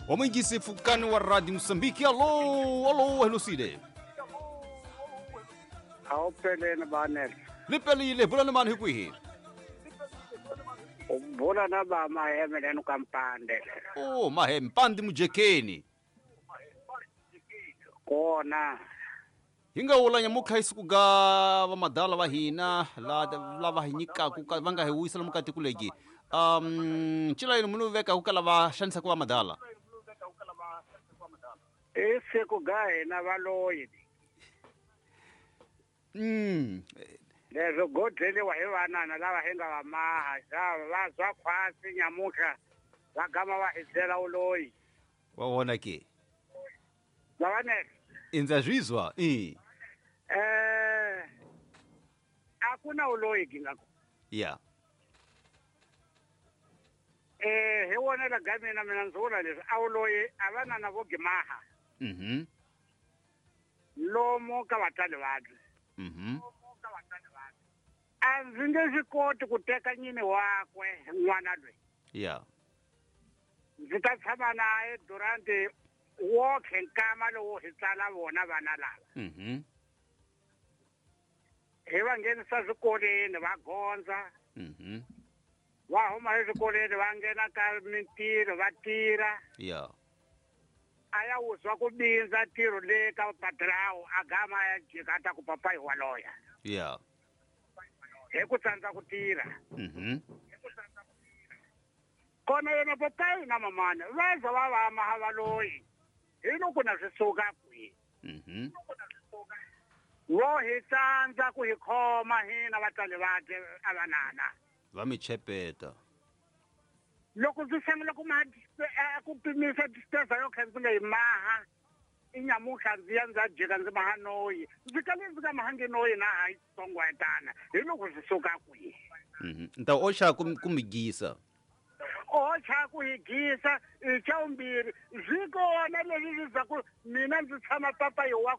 Wamwingisi fukani wa Radio Mosambiki. Alô, alô, Helocide. A wu peleni banele. Lipelile, bula ni mani hi kwihi? U bula na ba maheme lenu ka mpande. Oh, mahe mpande mujekeni. Kona. Hi nga wula nyamutlha isiku ga vamadala va hina lava hi nyikaku va nga hi wisa lomu ka tiko legi. Ncila yini munhu veka ku ka lava xanisaka vamadala? I siku ga hina valoyi. Leswo godleliwa hi vanana lava hi nga va maha va zwa khwasi nyamutlha va gama va hi byela uloyi. Wa vona ke? Vavanele. Indza zwizwa i. A ku na uloyi gingako. Yeah. Hi wona la ga mina mina ndzi vula leswi a uloyi a vanana vo gimaha. Lomo ka vatswari vabye. A ndzi nge swi koti ku teka nyini wakwe n'wana loyi. Yeah. Ndzi ta tshama naye Durant wokhe nkama lowo hi tsala vona vana lava. Hi va nghenisa swikolweni va gondza. Va huma eswikolweni va nghena ka mintirho va tirha. Yeah. A ya wuzwa ku bindza ntirho le ka padrawu a gama ya jika ta ku papayi wa loya. Yeah. Hi ku tsandza ku tirha. Kona yena papayi na mamana va za va va maha va loyi. Hi loko na swi suka kwihi. Vo hi tsandza ku hi khoma hina vatswari vabye a vanana. Va mi chepeta. Loko ndzi sungula ku ku pimisa distance yo kha ndzi nga yi maha i nyamutlha ndzi ya ndza jika ndzi maha noyi ndzi kale ndzi nga mahangi noyi na ha tsongwetana hi loko swi suka kwihi. Nta oxa ku mi gisa. Oxa ku hi gisa i xa vumbirhi swi kona leswi swi za ku mina ndzi tshama papayi wa